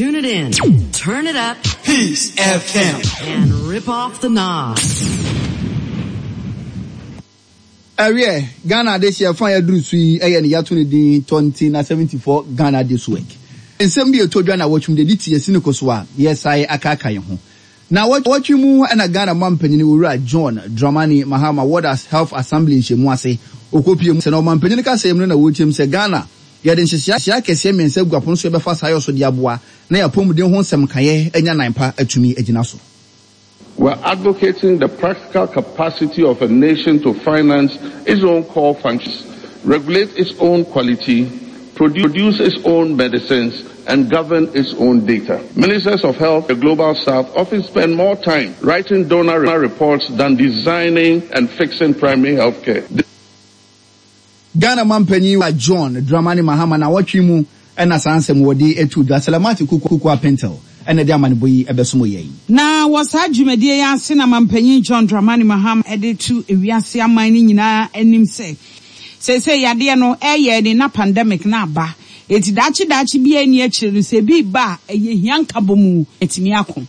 Tune it in, turn it up, Peace FM. and rip off the knob. Ɛwiɛ, Ghana adehyeɛ fa a yɛaduru so yi yɛ ne yɛato ne din Tɔnti na 74 Ghana This Work. Nsɛm bi a ɛtɔ dwa nnawɔtwe mu de adi te yɛsi no kɔ so a yɛresae akaakae yɛn ho. Nnawɔtwe mu na Ghana manpanin Owura John Dramani Mahama World Health Assembly nhyiamu ase. Ɔkɔpue mu sɛ na ɔmanpanin kasɛɛ mu no na wɔrekyerɛ mu sɛ Ghana yɛde nhyehyɛeɛ akɛseɛ mmiɛnsa agu apono so yɛbɛfa saa yɔ so de aboa na yɛn apɔmuden ho nsɛmkaeɛ anya nan pa atumi agyina so. We're advocating the practical capacity of a nation to finance its own core functions, regulate its own quality, produce its own medicines, and govern its own data. Ministers of Health, the Global South, often spend more time writing donor reports than designing and fixing primary health care. Ghana manpanyin John Dramani Mahama nawɔtwe mu na saa nsɛm wɔde too dwa. Salamati Kuku Apentel na ɛde amanebɔ yi bɛsom yɛn. Na wɔ saa dwumadie yi ase na Manpanyin John Dramani Mahama de to ewiase aman no nyinaa anim sɛ seesei yadeɛ no reyɛ ani na pandemic no aba enti daakye daakye biara nni akyire no sɛ ebi reba a ɛyɛ hia nkabɔmu atumi ako.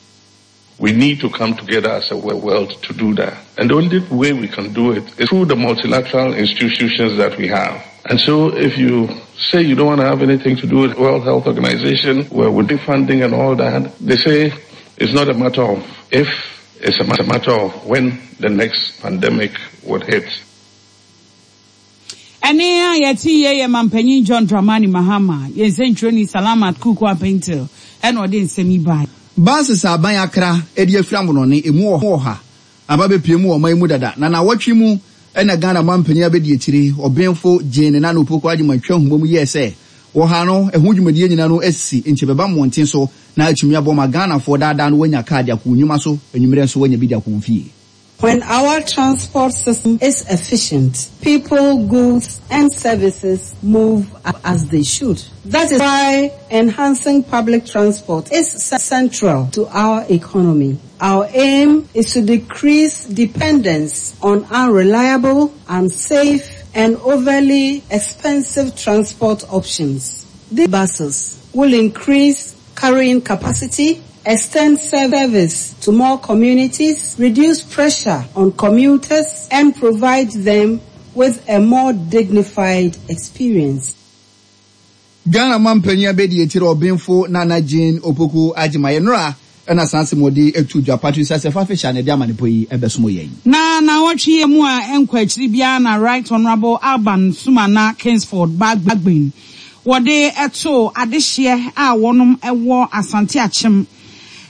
We need to come together as a world to do that. And the only way we can do it is through the multilateral institutions that we have. And so if you say you don't want to have anything to do with World Health Organization, where we're funding and all that, they say it's not a matter of if, it's a matter of when the next pandemic would hit. Ɛnne a yɛte yie yɛ Mampanyin John Dramani Mahama, yɛn nsɛntwerɛni Salamat Kuku Apentil na ɔde nsɛm yi baeɛ. Buses a aban akra de afiri amonɔne emu ɔha aba abɛpue mu wɔ ɔman yi mu dada na naawɔtwe mu na Ghana manpanin abɛdiakyire Ɔbenfo Jane Nana Opoku Agyemang twa nhoma mu yɛɛ sɛ wɔha no ɛho dwumadie nyina no asi nkyɛ bɛba mmɔnten so na atumi aboa ma Ghanafoɔ daadaa no wɔanya kaa de akɔ wɔn nnwuma so anwummerɛ nso wɔanya bi de akɔ wɔn fie. When our transport system is efficient, people, goods, and services move as they should. That is why enhancing public transport is central to our economy. Our aim is to decrease dependence on unreliable, unsafe, and overly expensive transport options. These buses will increase carrying capacity, extend service to more communities, reduce pressure on commuters, and provide them with a more dignified experience. Ghana manpanyin abadiakyiri Ɔbenfo Nana Jane Opoku Agyemang nnora na saa asɛm wɔde to dwa. Patrice Assefa Fisher na ɛde amanepɔ yi bɛsom yɛn. Na naawɔtwe yi mu a ɛnkɔ akyiri biara na Right Honourable Alban Sumana Kingsford Bagbin wɔde too adehyeɛ a wɔnom wɔ Asante Akyem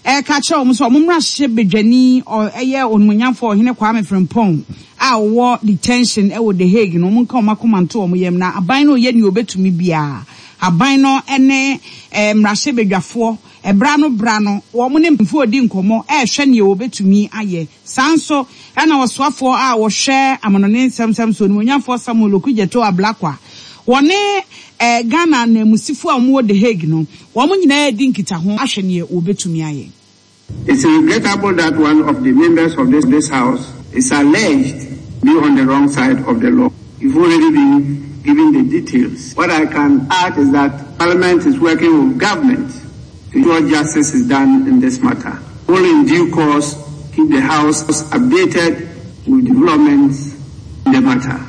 reka kyerɛ wɔn sɛ wɔn mmarahyɛ badwani ɔyɛ Onimuonyamfoɔ Ɔhene Kwame Frimpong a ɔwɔ detention wɔ The Hague no wɔn nka wɔn akoma nto wɔn yam na aban no reyɛ nea ɔbɛtumi biara aban no ne mmarahyɛ badwafoɔ ɛberɛ ano berɛ ano wɔn ne mpanyinfoɔ redi nkɔmmɔ rehwɛ nea wɔbɛtumi ayɛ. Saa nso na ɔsoafoɔ a ɔhwɛ amanɔne nsɛmsɛm so, Onimuonyamfoɔ Samuel Okudzeto Ablakwa, wɔne Ghana ananmusifoɔ a wɔwɔ The Hague no, wɔn nyinaa redi nkitaho ahwɛ neɛ wɔbɛtumi ayɛ. It's regrettable that one of the members of this, this house is alleged to be on the wrong side of the law. You've already been given the details. What I can add is that Parliament is working with government to ensure justice is done in this matter. Will in due course keep the House updated with developments in the matter.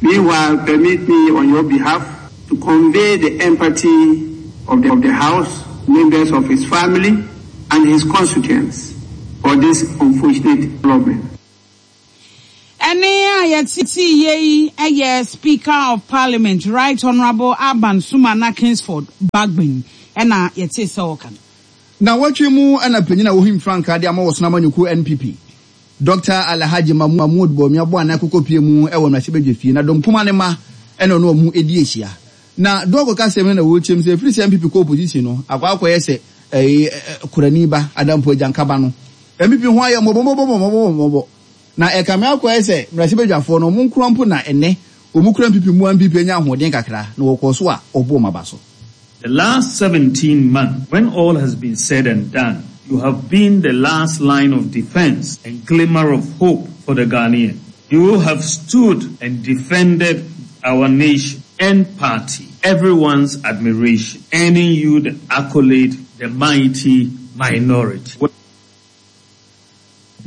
Meanwhile, permit me on your behalf to convey the empathy of the, of the House, members of his family, and his constituents for this unfortunate development. Ɛnne a yɛtee yi yɛ Speaker of Parliament, Right Honourable Alban Sumana Kingsford Bagbin na yɛtee sɛ ɔreka no. Nnawɔtwe mu na panyin a wohim frankaa de ama wɔ Sono Amanyɔkuo NPP, Dɔkta Alhaji Mahmood Bawumia bɔɔ anan kɔkɔpue mu wɔ mmarahyɛbadwafie na dɔm kumaa no mma na ɔne wɔn di ahyia. Na Doug kasɛm no na wɔrekyerɛ mu sɛ ɛfiri sɛ NPP kɔ opposition no akɔ akɔyɛ sɛ ɛyi kurani ba Adampo Agyanka ba no. NPP ho ayɛ mmɔbɔmmɔbɔmmɔbɔmmɔbɔ na ɛkame akɔyɛ sɛ mmarahyɛbadwafoɔ no wɔn nkoa mpo na ɛnnɛ wɔn kura NPP mu a NPP anya ahoɔden kakra na wɔkɔɔ so a wɔbɔɔ wɔn aba so. The last 17 months, when all has been said and done, you have been the last line of defense and glimmer of hope for the Ghanaian. You have stood and defended our nation and party, everyone's admiration, earning you the accolade, the mighty minority.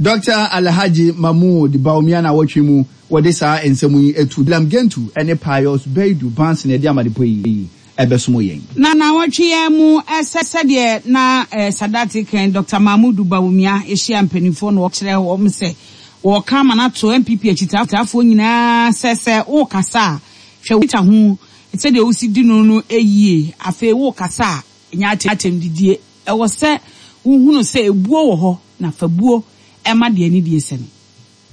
Dɔkta Alhaji Mahmood Bawumia naawɔtwe mu wɔde saa nsɛm yi to William Gentu ne Pius Baidu Banson ɛde amanepɔ yi ɛbɛsom yɛn. Na naawɔtwe yi ara mu sɛ sɛdeɛ na Sadat reka yi, Dɔkta Mahmood Bawumia hyia mpaninfoɔ na ɔkyerɛ wɔn sɛ wɔreka ama no ato NPP akyitaafoɔ nyinaa sɛ sɛ worekasa a hwɛ wo nkitaho sɛdeɛ wosi di no no yie, afei worekasa a nyɛ atɛmdidie. Ɛwɔ sɛ wohunu sɛ ebuo wɔ hɔ na fa buo ma deɛ anidie sɛ no.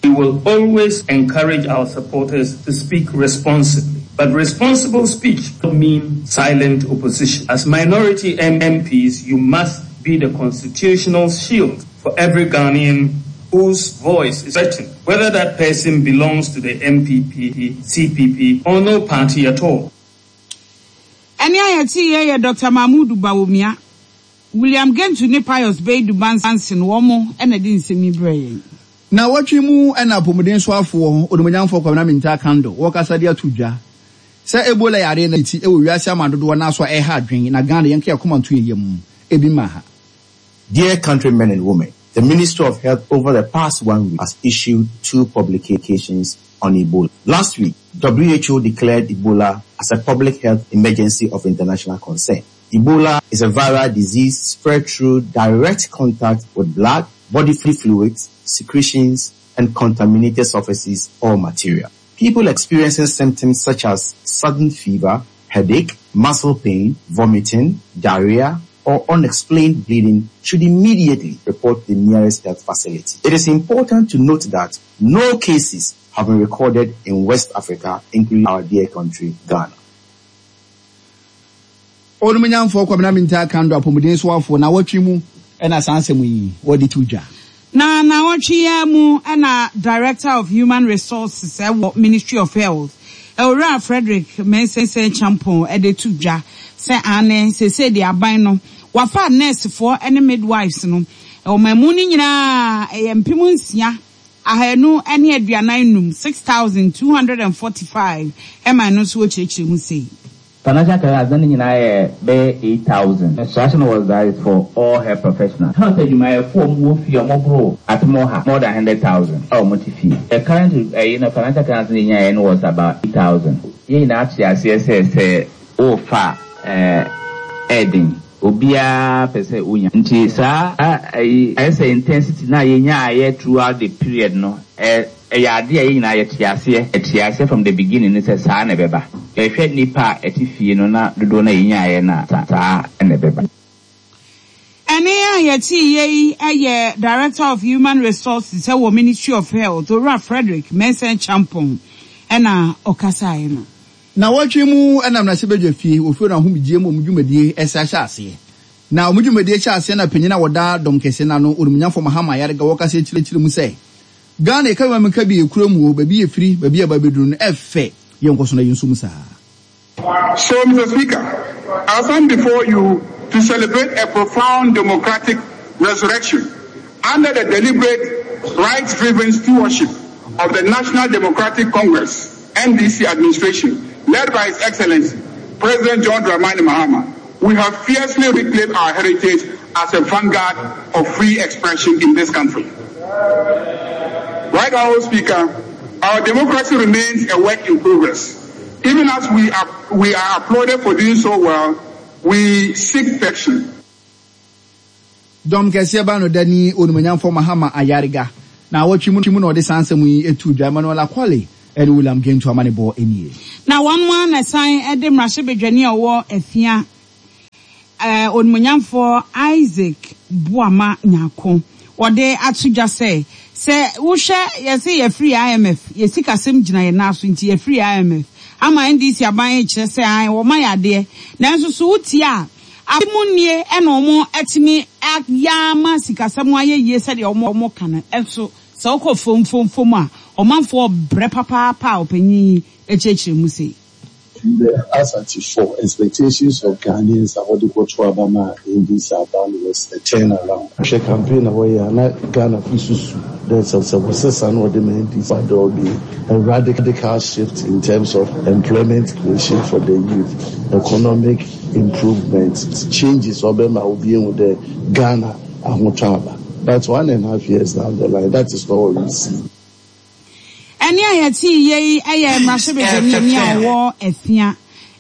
We will always encourage our supporters to speak responsibly. But responsible speech does not mean silent opposition. As minority MPs, you must be the constitutional shield for every Ghanaian whose voice is threatened, whether that person belongs to the MPP, CPP, or no party at all. Ɛnne a yɛteeɛ yɛ Dɔkta Mahmood Bawumia, William Gentu ne Pius Baidu Banson wɔn na ɛde nsɛm yi brɛɛ yɛn. Nnawɔtwe mu na apɔmuden soafoɔ Onimuonyamfoɔ Kwabena Mintah Akandoh wɔkasa de ato dwa sɛ Ebola yareɛ no ti wɔ wiase aman dodoɔ no ara so a ɛreha adwene na Ghana yɛnka yɛn akoma nto yɛn yam ebi mma ha. Dear countrymen and women, the Ministry of Health over the past one week has issued two publications on Ebola. Last week, WHO declared Ebola as a public health emergency of international concern. Ebola is a viral disease spread through direct contact with blood, body fluids, secretions, and contaminated surfaces or material. People experiencing symptoms such as sudden fever, headache, muscle pain, vomiting, diarrhea, or unexplained bleeding should immediately report the nearest health facility. It is important to note that no cases have been recorded in West Africa, including our dear country, Ghana. Onimuonyamfoɔ Kwabena Mintah Akandoh apɔmuden soafoɔ naawɔtwe mu na saa nsɛm yi wɔde to dwa. Na naawɔtwe yi ara mu na Director of Human Resources wɔ Ministry of Health, Owura Frederick Mensah Acheampong de to dwa sɛ aane seesei deɛ aban no wafa nɛɛsefoɔ ne midwives no ɔman mu no nyinaa ɛyɛ 6,545, 6,245, ɛma ɛno nso wɔkyerɛkyerɛ mu sei. Financial clearance na ne nyinaa yɛ bɛyɛ 8,000. Instruction was that it's for all health professionals. Health adwumayɛfoɔ a wɔwɔ fie a wɔboro apem ɔha, more than 100,000, a wɔte fie. The current ɛyi no financial clearance no yɛnyaeɛ no was about 8,000. Yɛn nyinaa te aseɛ sɛ sɛ worefa a ɛyɛ den. Obiara pɛ sɛ onya. Nti saa ɛyi ayɛ sɛ intensity no a yɛnyaeɛ throughout the period no ɛyɛ adeɛ a yɛn nyinaa yɛte aseɛ. Yɛte aseɛ from the beginning no sɛ saa na ɛbɛba. Yɛhwɛ nnipa a ɛte fie no na dodoɔ no a yɛnyaeɛ no a, saa na ɛbɛba. Ɛnne a yɛteeɛ yi yɛ Director of Human Resources wɔ Ministry of Health, Owura Frederick Mensah Acheampong na ɔkasaeɛ no. Nnawɔtwe mu na mmarahyɛbadwa fie wɔ fie no ahomegyeɛ mu wɔn dwumadie ɛsa hyɛ aseɛ. Na wɔn dwumadie hyɛ aseɛ na panyin a wɔda dɔm kɛseɛ no ano, Onimnyafo Mahama Ayariga wɔkasa kyerɛkyerɛ mu sɛ, Ghana yɛka bi ma menka bi yɛ kuro mu o, baabi yɛfiri, baabi a yɛba abɛduru no ɛfɛ, yɛnkɔ so na yɛnso mu saa. So, Mr. Speaker, I stand before you to celebrate a profound democratic resurrection under the deliberate, rights-driven stewardship of the National Democratic Congress, NDC administration, led by His Excellency, President John Dramani Mahama. We have fiercely reclaimed our heritage as a vanguard of free expression in this country. Right, Honorable Speaker, our democracy remains a work in progress. Even as we are, we are applauded for doing so well, we seek perfection. Dɔm kɛseɛ ba no da ni Onimuonyamfoɔ Mahama Ayariga. Naawɔtwe mu na ɔde saa nsɛm yi too dwa. Emmanuel Akwale ne William Gentu amanebɔ nie. Na wɔn ara na ɛsan de mmarahyɛbadwani a ɔwɔ Afia, Onimuonyamfoɔ Isaac Boamah Nyarko, wɔde ato dwa sɛ, sɛ wohwɛ yɛse yɛafiri IMF, yɛn sikasɛm gyina yɛn nan so nti yɛafiri IMF, ama NDC aban rekyerɛ sɛ aane wɔma yɛn adeɛ, nanso so wotie a, Afe mu nie na wɔn atumi ayɛ ama sikasɛm ayɛ yie sɛdeɛ wɔn ka no, nso sɛ wokɔ fam fam fam a, ɔmanfoɔ rebrɛ papaapa a ɔpanyin yi kyerɛkyerɛ mu sei. The Asante expectations of Ghanaians a wɔde kɔto aba ma NDC aba no was a turn around. Hwɛ campaign a wɔyɛ a na Ghanafo susu dɛ sɛ wɔsesa na wɔde ma NDC a there will be a radical shift in terms of employment creation for the youth, economic. improvements, changes a ɔbɛma obi ehu dɛ Ghana ahotɔ aba but one and half years down the line that is not what we see. Ɛnne a yɛtee yei yɛ mmarahyɛbadwani a ɔwɔ Afia,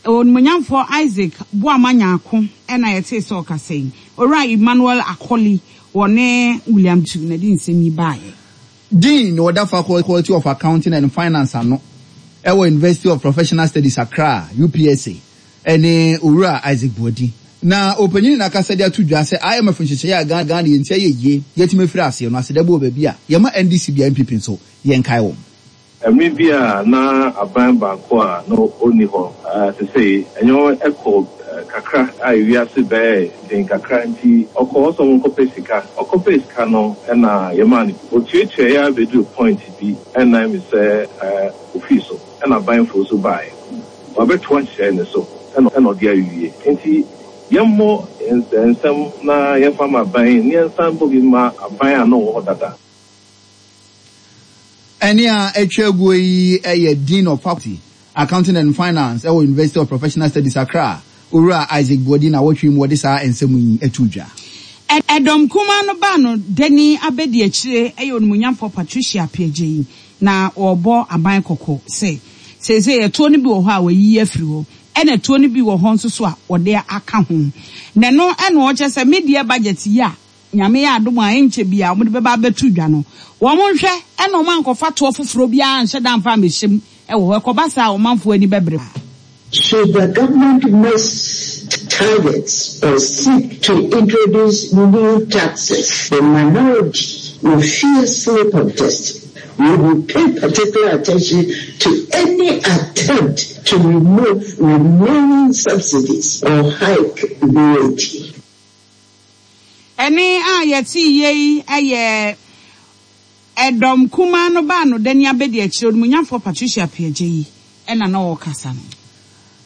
Onimuonyamfoɔ Isaac Boamah Nyarko na yɛtee sɛ ɔkasa yi. Owura Emmanuel Akoli wɔ ne William Tu na ɛde nsɛm yi baeɛ. Dean na ɔda Faculty of Accounting and Finance ano wɔ University of Professional Studies Accra, UPSA, ne Owura Isaac Boadi. Na ɔpanyin na akasa de ato dwa sɛ IMF nhyehyɛe a Ghana yɛn ti ayɛ yie yɛatumi afiri aseɛ no aseda bi wɔ baabi a yɛma NDC bia NPP nso yɛnkae wɔn. Mmere bi a na aban baako a na onni hɔ sesei, nneɛma kɔɔ kakra a wiase bɛyɛɛ den kakra nti ɔkɔɔ hɔ sɛ ɔnkɔpɛ sika. Ɔkɔpɛɛ sika no na yɛmaa no bi. Otuatuae ara beduu point bi na emi sɛ ofii so na aban foforo nso bae. Wabɛtoa nhyehyɛe no so na ɔde awie. Enti yɛmmɔ nsɛm na yɛmfa mma aban na yɛnsan mmɔ bi mma aban a na ɔwɔ hɔ dada. Ɛnne a atwa aguo yi yɛ Dean of Faculty, Accounting and Finance wɔ University of Professional Studies, Accra, Owura Isaac Boadi nnawɔtwe yi mu wɔde saa nsɛm yi too dwa. Ɛdɔm kumaa no baa no dani abɛdiakyire yɛ Onimuonyamfoɔ Patricia Appiagyei na wɔrebɔ aban kɔkɔ sɛ seesei ɛtoɔ no bi wɔ hɔ a wɔayiyi afiri hɔ ɛna ɛtoɔ no bi wɔ hɔ nso so a wɔde aka ho na ɛno na ɔkyerɛ sɛ medeɛ budget yi a Nyame yɛ adom a ɛnkyɛ biara wɔde bɛba abɛto dwa no, wɔn nhwɛ na wɔn ankɔfa toɔ foforɔ biara anhyɛ da amfa ammɛhyɛ mu wɔ hɔ. Ɛkɔba saa a, ɔmanfoɔ ani bɛbere paa. Should the government miss targets or seek to introduce new taxes, the minority will fiercely protest. We will pay particular attention to any attempt to remove remaining subsidies or hike VAT. Ɛnne a yɛtee yei yɛ ɛdɔm kumaa no baanodani abadiakyire Onimuonyamfoɔ Patricia Appiagyei na na ɔrekasa no.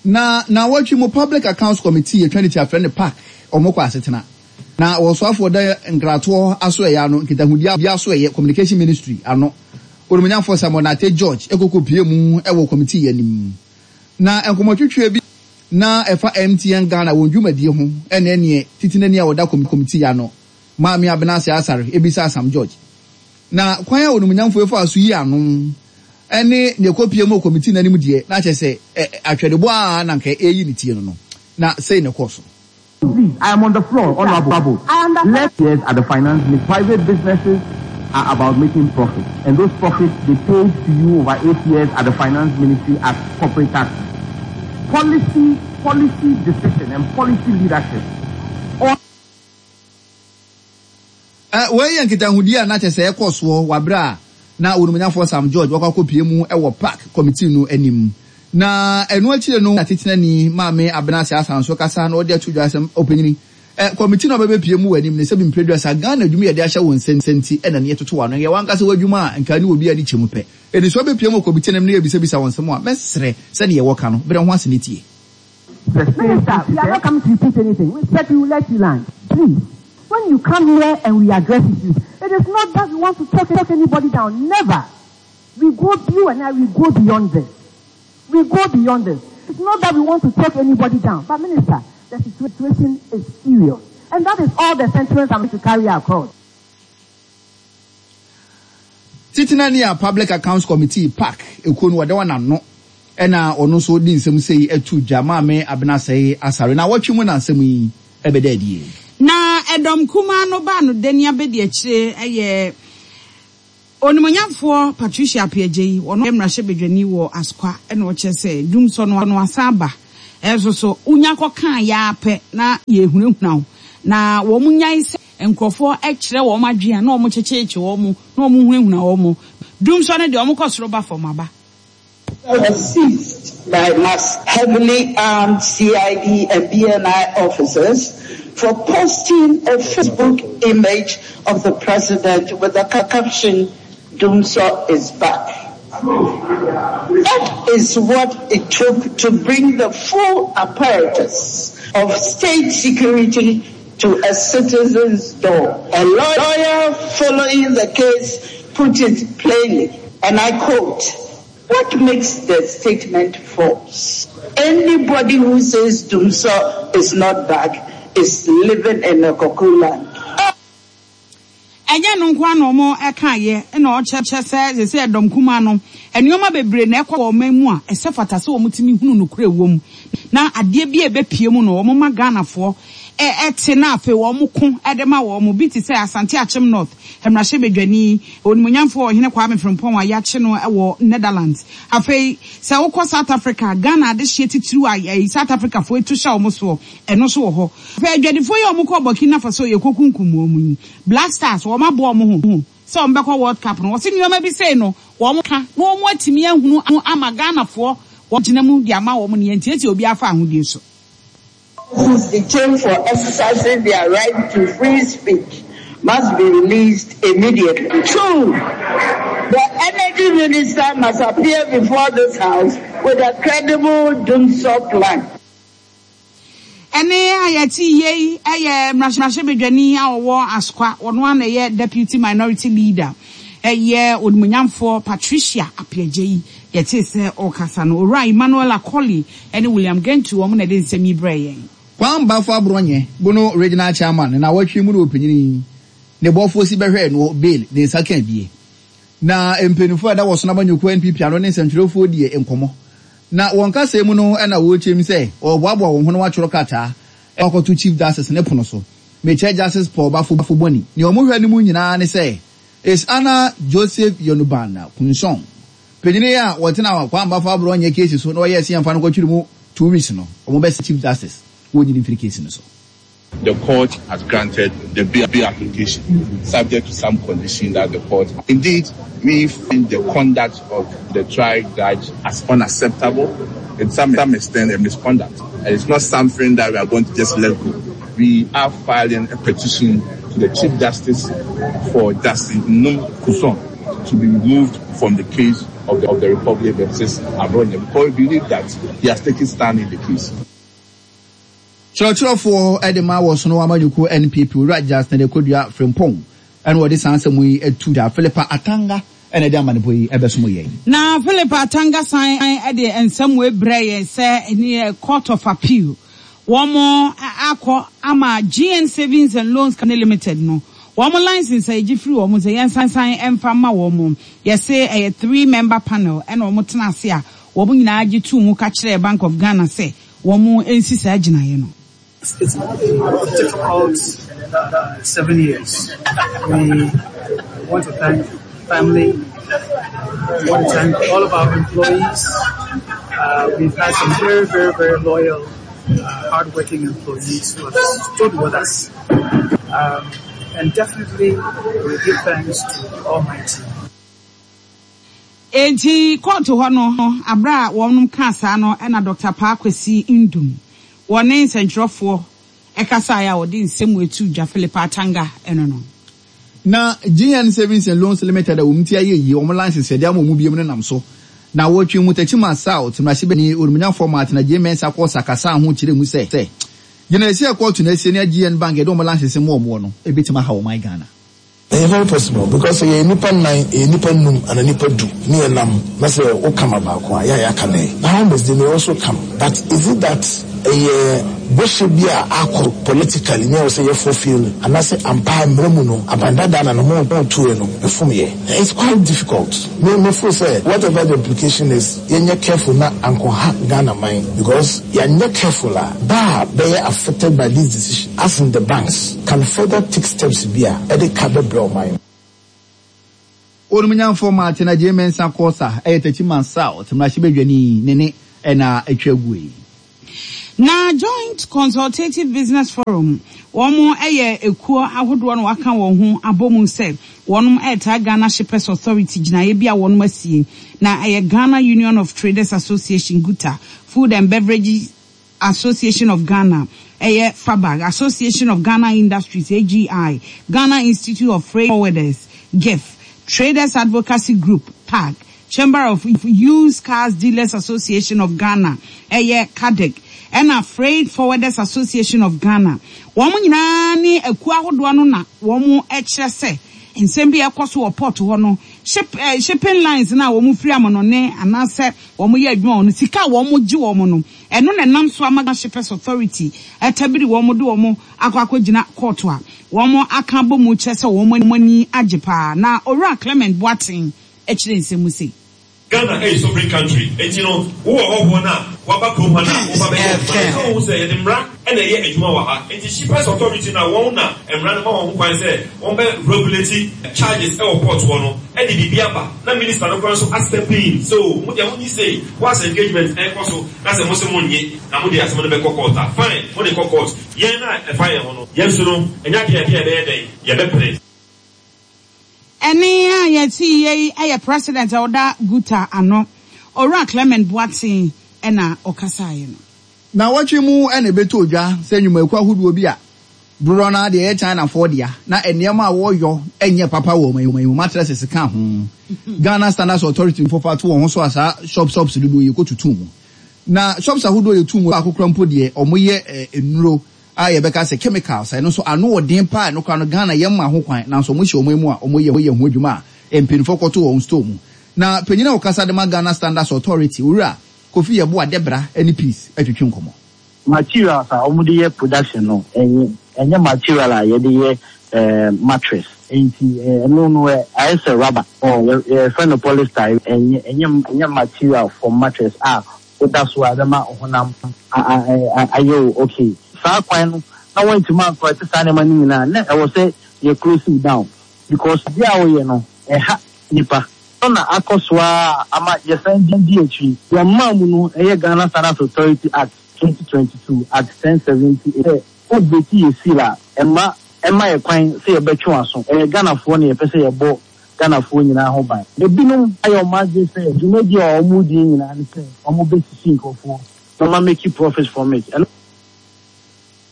Na naawɔtwe mu Public Accounts Committee yɛtwa ne ti afrɛ no pac wɔn kɔ asetena na wɔsoafoɔ da nkratoɔ asoɛeɛ ano nkitahodie asoɛeɛ Communication Ministry ano Onimuonyamfoɔ Samuel Nartey George kɔkɔ pue mu wɔ committee yi anim na nkɔmmɔtwetweɛ bi na ɛfa MTN Ghana wɔn dwumadie ho na ɛneɛ titenani a ɔda kɔmitii ano, Maame Abena Aseh Asare bisaa Sam George. Na kwan a onimnyamfoɔ yi faa so yii ano ne nea ɛkɔpie mu wɔ kɔmitii no anim deɛ, na kyerɛ sɛ atwɛdebɔ ara na anka ɛreyi ne tie no no, na sei na ɛkɔɔ so. Please, I am on the floor, Honourable. Let years at the finance ministry. Private businesses are about making profits, and those profits they paid to you over 8 years at the finance ministry as corporate taxes. Policy, policy decision and policy leadership. All Wei yɛ nkitahodie a na kyerɛ sɛ ɛkɔ soɔ wɔ aberɛ a na Onimnyafoɔ Sam George wakɔ akɔpue mu wɔ PAC kɔmitii no anim. Na ɛno akyire no na Titenani Maame Abena Aseh asan nso kasa na ɔde ato dwa sɛ, Ɔpanyini, kɔmitii no a wobɛbɛpue mu wɔ anim no sɛbi mprɛduasa Ghana adwuma yɛde ahyɛ wo nsa nti na ne yɛtoto w'ano. Ɛyɛ w'ankasa w'adwuma a nka ne obiara ani kyɛ mu pɛ. Enti sɛ wobɛpue mu wɔ kɔmitii no anim na yɛbisabisa wo nsɛm a, mɛsrɛ sɛdeɛ wɔka no, brɛ ho ase na tie. Minister, we are not coming to repeat anything. We said we will let you land. Please, when you come here and we address issues, it is not that we want to talk, talk anybody down. Never. We go, you and I, we go beyond this. We go beyond this. It's not that we want to talk anybody down. But Minister, the situation is serious. And that is all the sentiments I'm going to carry across. Titenani a Public Accounts Committee, pac, ekuo no wɔda wɔn ano na ɔno nso de nsɛm sei to dwa, Maame Abena Asɛe Asare. Naawɔtwe mu na nsɛm yi bɛda adie. Na ɛdɔm kumaa no baa no dani abɛdiakyire yɛ Onimuonyamfoɔ Patricia Appiagyei, ɔno yɛ mmarahyɛbadwani wɔ Asokwa na ɔkyerɛ sɛ dwumsɔ no asan aba nso so wonya kɔkaa yɛ ara pɛ na yɛrehunahuna wo na wɔn nyae sɛ nkurɔfoɔ kyerɛ wɔn adwene a na wɔkyekyerekye wɔn na wɔhunahuna wɔn. Dwumsɔ no deɛ wɔkɔ soro ba fam aba. Was seized by mass heavily armed CID and BNI officers for posting a Facebook image of the president with the caption, Dumsor is back. That is what it took to bring the full apparatus of state security to a citizen's door. A lawyer following the case put it plainly, and I quote, What makes the statement false? Anybody who says Dumsor is not back is living in a cuckoo land. Ɛnyɛ ɛno nko ara na wɔkaeɛ, na ɔkyerɛ sɛ seesei ɛdɔm kumaa no, nneɛma bebree na ɛkɔ wɔ ɔman mu a ɛsɛ fata sɛ wɔtumi hunu nokorɛ wɔ mu, na adeɛ bi a ɛbɛpue mu no wɔma Ghanafoɔ te na afei wɔko de ma wɔn, bi te sɛ Asante Akyem North mmarahyɛbadwani, Onimuonyamfoɔ Ɔhene Kwame Frimpong a yɛakye no wɔ Netherlands. Afei sɛ wokɔ South Africa a, Ghana adehyeɛ titiriw a South Africafoɔ atu hyɛ wɔn soɔ, ɛno nso wɔ hɔ. Afei adwadifoɔ yi a wɔkɔɔ Burkina Faso yɛkɔkunkum wɔn yi, Black Stars, wɔaboa wɔn ho sɛ wɔbɛkɔ World Cup no, wɔse nneɛma bi sei no wɔka na wɔatumi ahunu ama Ghanafoɔ wɔagyina mu de ama wɔn no yɛntiatia obiara fa ahodie so. Persons detained for exercising their right to free speech must be released immediately. 2, The energy minister must appear before this house with a credible dumsor plan. Ɛnne a yɛte yei yɛ mmarahyɛbadwani a ɔwɔ Asokwa, ɔno ara na ɛyɛ Deputy Minority Leader, ɛyɛ Onimuonyamfoɔ Patricia Appiagyei. Yɛtee sɛ ɔrekasa no, Owura Emmanuel Akoli ne William Gentu wɔn na ɛde nsɛm yi brɛɛ yɛn. Kwan Bafo Abrɔnyɛ, Bono Regional Chairman, ne nawɔtwe mu na ɔpanyin yi ne bɔfoɔ si bɛhwɛɛ noɔ bail ne nsa kaa bie. Na mpaninfoɔ a ɛda wɔsono amanyɔkuo NPP ano ne nsɛntwerɛfoɔ die nkɔmmɔ. Na wɔn kasaa mu no na wɔrekyerɛ mu sɛ wɔreboaboa wɔn ho na wɔatwerɛ krataa akɔto Chief Justice ne pono so. Mekyerɛ Justice Paul Baffoe Bonnie. Nea wɔhwɛ no mu nyinaa ne sɛ Is Anna Joseph Yonuban Kunsong, panyin yi a wɔtenaa Kwame Baffoe Aborɔnyɛ keesi so na wɔyɛɛ sɛ yɛmfa no nkɔtwere mu 2 weeks no, wɔbɛsrɛ Chief Justice wɔnyi no mfiri keesi no so. The court has granted the bail application subject to some condition that the court. Indeed, we find the conduct of the trial judge as unacceptable and some, some extent a misconduct. And it's not something that we are going to just let go. We are filing a petition to the Chief Justice for Justice Num Kuson to be removed from the case of the, of the Republic versus Abronya because we believe that he has taken stand in the case. Kyerɛkyerɛfoɔ de ma wɔ Sono Amanyɔkuo NPP, Owura Justin Akodua Frimpong na ɔde saa nsɛm yi to dwa. Philippa Atanga na ɛde amanebɔ yi bɛsom yɛn. Na Philippa Atanga san de nsɛm wei brɛɛ yɛn sɛ Court of Appeal wɔn akɔ ama GN Savings and Loans Company Limited no wɔn license a yɛgye firi wɔn sɛ yɛnsan mfa mma wɔn. Yɛse ɛyɛ three member panel ɛna wɔn tena ase a wɔn nyinaa gye too mu ka kyerɛɛ Bank of Ghana sɛ wɔn nsi saa gyinaeɛ no. It's been a difficult seven years. We want to thank family. We want to thank all of our employees. Uh, we've had some very, very, very loyal, uh, hardworking employees who have stood with us. Um, and definitely we give thanks to the Almighty. Enti kɔɔto hɔ no, aberɛ a wɔnom kaa saa no na Dɔkta Paa Kwesi Nduom wɔne nsɛntwerɛfoɔ kasaeɛ a ɔde nsɛm wei too dwa, Philip Atanga no no. Na GN Savings and Loans Limited a wɔn ti ayɛ yie, wɔn license yɛde ama wɔn biom no nam so. Na wɔtwe mu Techiman South mmarahyɛbadwani Onimnyafɔɔ Martin Adjei Mensah kɔɔ kasaa ho kyerɛɛ mu sɛ, gyinaeɛsi a kɔɔto no asie ne GN Bank yɛde wɔn license ma wɔn no bɛtumi ahaw ɔman Ghana. Ɛyɛ very possible because sɛ yɛyɛ nnipa nnan, yɛyɛ nnipa nnum anaa nnipa du ne yɛnam na sɛ wo come baako a, yɛ a yɛaka dɛn? Na how must they may also come but is it that ɛyɛ bɔhyɛ bi a akɔ politically ne ɛwɔ sɛ yɛ fulfill anaasɛ ampa ara mmara mu no aban dadaa na ne ho tuiɛ no ɛfom yɛ? It's quite difficult. Me me feel sɛ whatever the implication is yɛnyɛ careful na ankɔha Ghana man because yɛanyɛ careful a ba a bɛyɛ affected by this decision as in the banks can further take steps bi a ɛde ka bɛbrɛ ɔman no. Onimnyamfoɔ Martin Adjei Mensah Korsah yɛ Techiman South mmarahyɛbadwani ne ne na atwa aguo yi. Na Joint Consultative Business Forum, wɔn yɛ ekuo ahodoɔ na wɔaka wɔn ho abɔ mu sɛ wɔn retaa Ghana Shippers Authority gyinaeɛ bi a wɔn asie, na ɛyɛ Ghana Union of Traders Association, GUTA, Food and Beverages Association of Ghana, ɛyɛ FABAG, Association of Ghana Industries, AGI, Ghana Institute of Freight Forwarders, GIFF, Traders Advocacy Group, TAG, Chamber of Used Cars Dealers Association of Ghana, ɛyɛ CADEG, ɛna Freight Forwarders Association of Ghana. Wɔn nyinaa ne akuo ahodoɔ no na wɔkyerɛ sɛ nsɛm bi a ɛkɔ so wɔ port hɔ no, Ship eh, shipping lines no a wɔn firi amanɔne anaasɛ wɔn yɛ adwuma wɔ no, sika a wɔn gye wɔn no, ɛno na ɛnam so ama Ghana Shippers Authority atabiri wɔn de wɔn akɔ akɔgyina kɔɔto a wɔn aka abɔ mu kyerɛ sɛ wɔn ani agye paa. Na Owura Clement Boateng kyerɛ nsɛm mu sei. Ghana ɛyɛ sovereign country nti no wo wɔ hɔhoɔ no a waba kurom ha no a woba bɛyɛ adwuma no ɛsɛ wohu sɛ yɛde mmra na ɛyɛ adwuma wɔ ha nti shippers authority no a wɔn na mmra no ma wɔn ho kwan sɛ wɔn bɛ regulate charges ɛwɔ port hɔ no ɛde biribi aba na minister no koraa nso a step in sɛ oo mo deɛ mo nyi sei whilst engagement ɛrekɔ so na sɛ mo se mo nnye na mo de asɛm no bɛkɔ court a fine mo de kɔ court yɛn a ɛfa yɛn ho no yɛn nso no ɛnyɛ adeɛ a yɛbɛyɛ dɛn yɛbɛpere. Ɛnne a yɛtee yei yɛ President a ɔda GUTA ano, Owura Clement Boateng na ɔkasaeɛ no. Nnawɔtwe mu na ɛbɛtɔɔ dwa sɛ nnwumakuo ahodoɔ bi a dodoɔ no ara deɛ ɛyɛ Chinafoɔ dea na nneɛma a wɔyɔ nyɛ papa wɔ ɔman yi mu, mattresses ka ho. Ghana Standards Authority foɔ fa to wɔn ho so a saa shops shops dodoɔ yi kɔtutu mu. Na shops ahodoɔ yɛtu mu baako koraa mpo deɛ wɔyɛ nnuro a yɛbɛka sɛ chemicals a ɛno nso ano wɔ den paa ɛno koraa no Ghana yɛmma ho kwan nanso wɔn hyɛ wɔn mu a wɔn yɛ ho adwuma a mpaninfoɔ kɔto wɔn store mu. Na panyin a ɔkasa de ma Ghana Standards Authority Owura Kofi Yeboah Debra ne Peace atwitwi nkɔmmɔ. Materials a wɔde yɛ production no ɛnyɛ ɛnyɛ material a yɛde yɛ mattress nti ɛno no ayɛ sɛ rubber yɛfrɛ no polyester ɛnyɛ ɛnyɛ ɛnyɛ material for mattress a woda so a ɛbɛma wo honam ayɛ wo okay. Saa kwan no na wɔantumi ancorrect saa nneɛma no nyinaa na ɛwɔ sɛ yɛ close wo down because adeɛ a woyɛ no ɛha nnipa. Ɛno na akɔ so ara ama yɛsan di akyiri. Deɛ mmaa mu no ɛyɛ Ghana Standards Authority Act 2022, Act 1078 sɛ wo breaki yɛ seal a ɛmma ɛmma yɛ kwan sɛ yɛbɛtwe w'aso. Ɛyɛ Ghanafoɔ na yɛpɛ sɛ yɛbɔ Ghanafoɔ nyinaa ho ban. Ebinom ayɛ wɔn adwene sɛ dwumadie a wɔredi nyinaa ne sɛ wɔbɛsisi nkurɔfoɔ na wɔa make profit from it. Ɛno.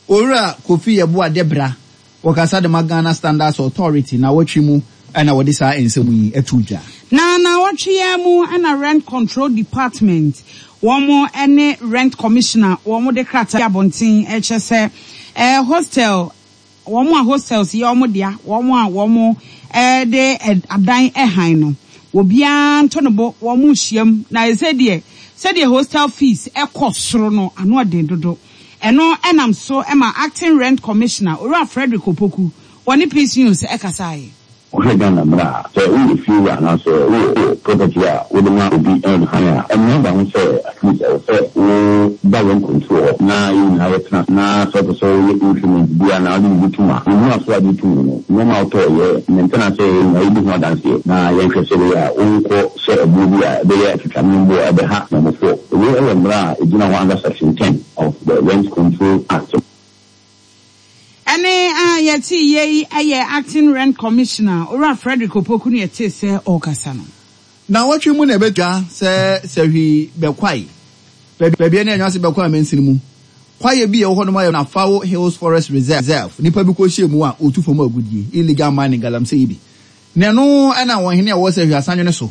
Owura Kofi Yeboah Debra, wɔkasa de ma Ghana Standards Authority naawɔtwe mu na wɔde saa nsɛm yi too dwa. Na naawɔtwe yi ara mu na Rent Control Department wɔn ne Rent Commissioner wɔn de krataa bi abɔnten rekyerɛ sɛ hostel Wɔn a hostels yɛ wɔn dea, wɔn a wɔde adan hann no, obiara nto ne bo, wɔnhyiam. Na ɛsɛ deɛ, sɛdeɛ hostel fees kɔ soro no, ano ɔden dodo. Ɛno nam so ma Acting Rent Commissioner, Owura Frederick Opoku, wɔne Peace News kasaeɛ. Wohwɛ Ghana mmara a, sɛ woyɛ fiewura anaasɛ wowɔ property a wode ma obi hann a, mmara da ho sɛ at least ɛwɔ sɛ wo ba rent control hɔ na yɛn nyinaa yɛtena ase na sɛ wopɛ sɛ woyɛ increment bi anaa wode biribi tom a, yɛhu aso a wode tom no, nneɛma a wotɔeɛ, maintenance a yɛyɛ nyinaa yɛdi ho adanseɛ na yɛnhwɛ sɛ ɛbɛyɛ a wonkɔ hyɛ ɛboɔ bi a ɛbɛyɛ atwitwamemboɔ a ɛbɛha Nyamefoɔ. Wei yɛ mmara a ɛgyina hɔ under section ten of the Rent Control Act. Ɛnne a yɛtee yei yɛ Acting Rent Commissioner, Owura Frederick Opoku na yɛtee sɛ ɔrekasa no. Nnawɔtwe mu na ɛbɛtwa sɛ sahwi bɛkwae baabi a ne Anwase bɛkɔ amansini mu. Kwaeɛ bi a ɛwɔ hɔnom a yɛfrɛ no Afao Hills Forest Reserve, nnipa bi kɔhyɛɛ mu a wɔtu fam agudeɛ, illegal mining, galamsey yi bi. Na ɛno na wɔn hene a ɔwɔ sahwi asanwene so,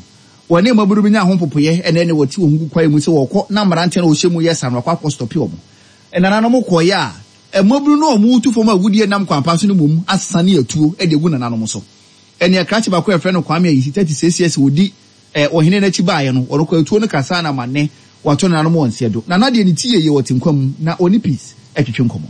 wɔne mmabunu bi nyaa ho mpopoeɛ na ɛne wɔte wɔn ho gu kwaeɛ mu sɛ wɔrekɔ na mmeranteɛ no a wɔhyɛ mu yɛ sa no akɔ akɔ stɔpe wɔn. Nananom kɔeɛ a, mmabunu no a wɔretu fam agudeɛ nam kwan pa so no mmom asane atuo de agu nananom so. Ɛnneɛ krakye baako a yɛfrɛ no Kwame Ayisi, 36 years, ɔdi ɔhene no akyi baeɛ no, ɔno koraa atuo no kasaa no ama nnɛ wato nananom wɔ nseɛ do. Nana deɛ ne ti yɛ yie, ɔte nkwa mu na ɔne Peace twetwe nkɔmmɔ.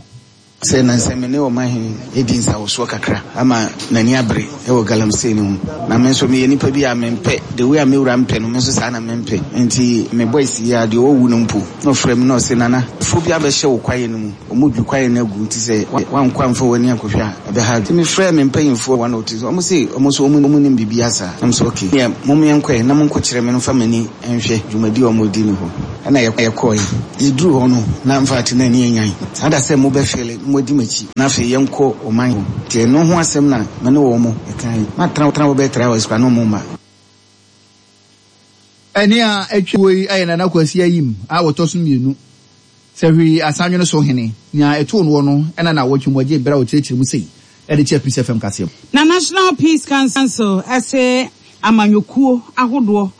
Sɛ nnansa me ne ɔmanhene redi nsawosoɔ kakra ama n'ani abere wɔ galamsey no ho. Na me nso meyɛ nipa bi a mempɛ, the way a me wura mpɛ no, me nso saa na mempɛ. Nti me boys yi ara, deɛ ɔwu no mpo, na ɔfrɛ me na ɔse, Nana, foɔ bi abɛhyɛ wo kwaeɛ no mu, wɔredwi kwaeɛ no agu, nti sɛ woankɔ amfa w'ani ankɔhwɛ a, ɛbɛha adwene. Nti mefrɛɛ me mpanyimfoɔ one or two, wɔn se wɔn nso wɔnnim biribiara saa. Na mese okay, neɛ mom yɛnkɔ ɛ, na monkɔkyerɛ me no mfa m'ani nhwɛ dwumadi a wɔredi no hɔ. Ɛna yɛkɔɔe. Yɛduruu hɔ no, na infact na ani anyan. Saa da sɛ mobɛfeele na moadi m'akyi. Na afei yɛnkɔ ɔman hɔ. Nti ɛno ho asɛm na me ne wɔn kaeɛ. Matena hɔ bɛyɛ 3 hours koraa na wɔn mma. Ɛnne a atwa guo yi yɛ Nana Kwasi Ayim a ɔtɔ so mmienu, Sahwi Asanwene so hene. Nea ɛtoo noɔ no na nnawɔtwe mu ɔgyee berɛ a ɔkyerɛkyerɛ mu sei de kyerɛɛ Peace FM kaseɛbɔ. Na National Peace Council se amanyɔkuo ahodoɔ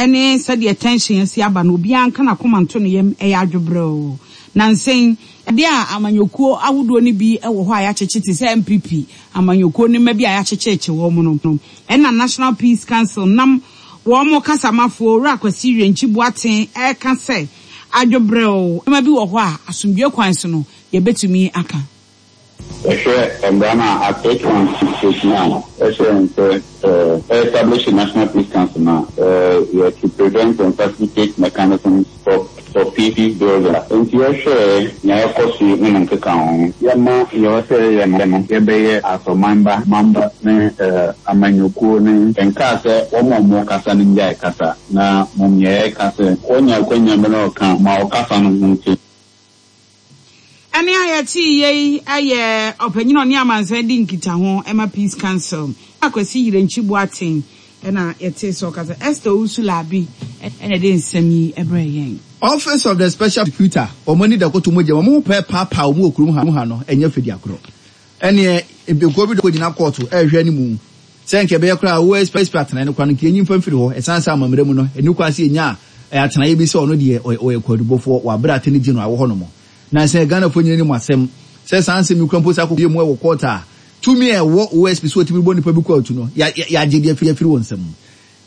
ne sɛdeɛ tension asi aba no obiara nka n'akoma nto ne yam, ɛyɛ adwobrɛoo. Nansa yi, Adeɛ a amanyɔkuo ahodoɔ no bi wɔ hɔ a yɛakyekye te sɛ NPP amanyɔkuo no mma bi a yɛakyekyerekye wɔn no, ɛna National Peace Council nam wɔn kasamafoɔ Owura Kwasi Wirenkyi Boateng reka sɛ adwobrɛw nneɛma bi wɔ hɔ a asomdwoeɛ kwan so no yɛbɛtumi aka. Yɛhwɛ mbra no a Act 8168 no a ɛhyɛ hɛn sɛ ɛ establish National Peace Council no a, yɛ to prevent and facilitate mechanisms for for peace building. Ntsi yɛhwɛɛ nea ɔkɔ so yi ne ne nkekaho. Yɛma nea ɔwɔ sɛ yɛyɛ no yɛbɛyɛ as ɔman ba, mamba ne amanyɔkuo ne. Nkaa sɛ wɔn a wɔkasa no ngyae kasa, na mmom nea yɛka sɛ. Wɔnya akwanya bi na ɔka ma ɔkasa no ho nte. Ɛnne a yɛtee yei yɛ ɔpanyin a ɔne amansan di nkitaho ma Peace Council, Kwasi Yirenkyi Boateng na yɛtee sɛ ɔkasa. Esther Owusu Larbi na ɛde nsɛm yi brɛɛ yɛn. Office of the Special Prosecutor, wɔn ani da kɔtɔ mogya mu, wɔn ho pɛɛ paapaa wɔn wɔ kurom ha no, ɛnyɛ fɛ di agorɔ. Ɛneɛ ekuo bi kɔgyina kɔɔto ɛrehwɛ anim sɛ nka ɛbɛyɛ koraa a OSP atenaeɛ no koraa no nka yɛnyi mfa mfiri hɔ, ɛsiane sɛ amammerɛ mu no ɛnni kwan sɛ yɛnya atenaeɛ bi sɛ ɔno deɛ ɔyɛ kwaadubɔfoɔ wɔ aberɛ a Attorney General wɔ hɔnom. Na sɛ Ghanafoɔ nyina nim asɛm sɛ saa nsɛm yi koraa mpo saa kɔpie mu wɔ kɔɔto a, tumi a ɛwɔ OSP sɛ ɔtumi bɔ nipa bi kwaatu no yɛagye de afiri wɔn nsam.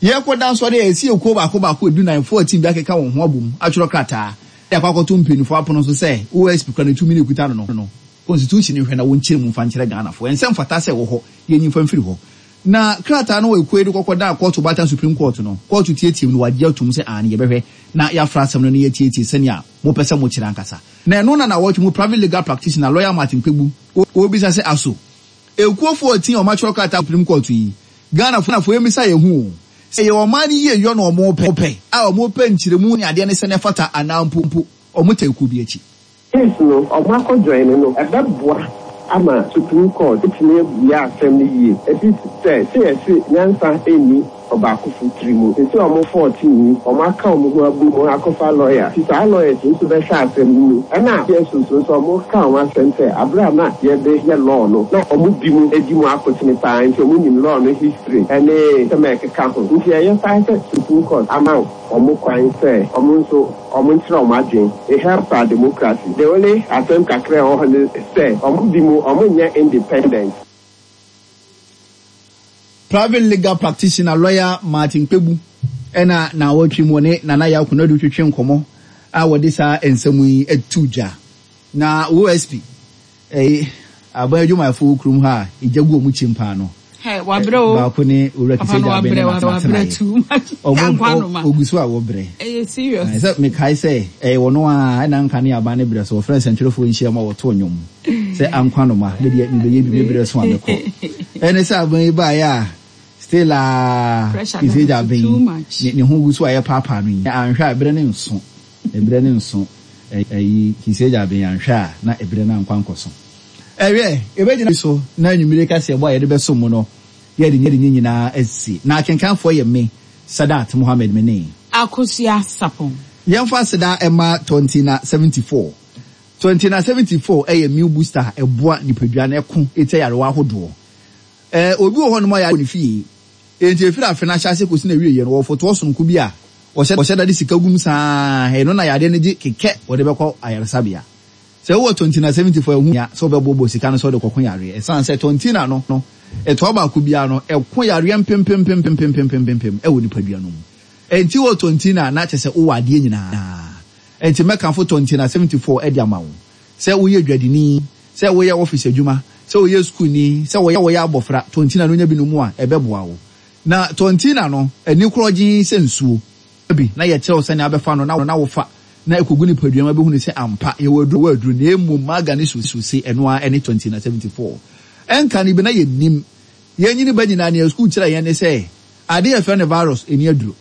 Yɛrekɔda nso adeɛ a ɛsi ekuo baako baako edunan, 14 bi akeka wɔn ho abom atwerɛ krataa de akɔ akɔto mpaninfoɔ apono so sɛ OSP kura ne tumi no ɛkuta no no constitution nhwɛ na wɔnkyerɛ mu mfa nkyerɛ Ghanafoɔ. Ɛnsɛ mfata sɛ ɛwɔ hɔ, yɛnyi mfa mfiri hɔ. Na krataa no ekuo yi de kɔkɔdaa kɔɔto Baatan Supreme Court no, kɔɔto tiatiam no wɔagye atom sɛ aane yɛbɛhwɛ na yɛafra asɛm no na yɛatietie sɛnea mopɛ sɛ mokyerɛ ankasa. Na ɛno na nawɔtwe mu private legal practitioner Lawyer Martin Kpebu ɔrebisa sɛ aso ekuo 14 a wɔatwerɛ krataa Supreme Court yi Ghanafoɔ yɛmmisa yɛn ho o, sɛ ɛyɛ ɔman no yie yɔ na wɔn pɛ a wɔn pɛ nkyerɛmu ne adeɛ ne sɛdeɛ ɛfata anaa mpo mpo wɔn taa kuo bi akyi. Case no ɔmo akɔ join no ɛbɛboa ama Supreme Court atumi abua asɛm no yie ɛfiri sɛ sɛ yɛse nyansa nni ɔbaakofo tiri mu. Seesei ɔmo 14 yi ɔmo aka ɔmo ho abom akɔfa lawyer nti saa lawyers yi nso bɛhwɛ asɛm no mu ɛna CSOs nso ɔmo ka ɔmo asɛm sɛ aberɛ a na yɛde yɛ law no na ɔmo bi mu di mu akotene paa nti ɔmo nim law no history ɛne nsɛm a ɛkeka ho nti ɛyɛ saa sɛ Supreme Court ama ɔmo kwan sɛ ɔmo nso ɔmo nkyerɛ ɔmo adwen. It helps our democracy. The only asɛm kakra a ɛwɔ hɔ ne sɛ ɔmo bi mu ɔmo nyɛ independent. Private legal practitioner lawyer Martin Kpebu na naawɔtwe mu ɔne Nana Yaw Konadu twetwe nkɔmmɔ a wɔde saa nsɛm yi to dwa. Na OSP, ɛyi, aban adwumayɛfo wɔ kurom ha a egya gu wɔn kyim paa no, Hey, wabrɛ o. baako ne Owura Papa no Kisegya Aben wabrɛ, ne wabrɛ n'atenaeɛ. too much. Ɔmo Ankwa ɔ- noma. ogu so a wɔbrɛ. Ɛyɛ serious. Ae, sɛ mekae sɛ ɛyɛ wɔn a ɛna nka ne aban no brɛ so wɔfrɛ nsɛntwerɛfoɔ nhyiam a wɔtoo nnwom sɛ ankwa noma me deɛ mebɛyɛ bi me brɛ so a mɛkɔ. Ɛne sɛ aban yi baeɛ a still a Pressure no Kisegya too Aben much. ne ne ho gu so a yɛpaapaa no yi anhwɛ a ɛberɛ no nso ɛberɛ no nso ɛyi Kisegya Aben anhwɛ a na ɛberɛ no ankɔ ankɔso. Ɛwiɛ, yɛbɛgyina so na anwummere kaseɛbɔ a yɛde bɛsom mo no, yɛde ne nyinaa asi. Na akenkanfoɔ yɛ me, Sadat Mohammed me ne. Akosua Sarpong. Yɛmfa aseda mma Tontina 74. Tontina 74 yɛ immune booster a ɛboa nipadua no ko tia nyarewa ahodoɔ. Obi wɔ hɔnom a yareɛ wɔ ne fie, enti ɛfiri afe no ahyɛaseɛ kɔsi n'awieeɛ no, ɔwɔ fotoɔ sononko bi a ɔhyɛ da de sika gu mu saa ara, ɛno na yareɛ no gye kekɛ wɔde bɛkɔ ayaresabea. Sɛ wowɔ Tontina 74 a, ɛho hia sɛ wobɛboaboa sika no sɛ wode kɔko yareɛ. Ɛsiane sɛ Tontina no, ɛtoa baako biara no, ɛko yareɛ mpempempempempempempempem wɔ nipadua no mu. Enti wowɔ Tontina a, na kyerɛ sɛ wowɔ adeɛ nyinaa. Enti mɛkamfo Tontina 74 de ama wo. Sɛ woyɛ dwadini, sɛ woyɛ ɔfese adwuma, sɛ woyɛ sukuuni, sɛ woyɛ abɔfra, Tontina no nya bi nom a, ɛbɛboa wo. Na Tontina no, ani korɔgyenn sɛ nsuo. bi na yɛkyerɛ wo sɛnea wobɛfa no na wofa na ɛkɔgu nipadua mu abɛhunu sɛ ampa yɛwɔ aduro wɔ aduro na mmom maga ne suose ɛno ara ɛne 20 na 74 ɛnka no bi na yɛnnim yɛnyini ba nyinaa nea sukuu kyerɛ yɛn ne sɛ adeɛ yɛfrɛ no virus ɛni aduro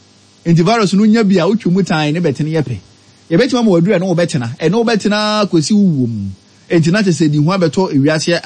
nti virus no nya bi a wotwe mu tan ne bɛtene yɛ pɛ yɛbɛtumi ama waduro ɛne wobɛtena ɛne wobɛtena kɔsi wo wuo mu nti na kyɛ sɛ di ho abɛtɔ ewiase.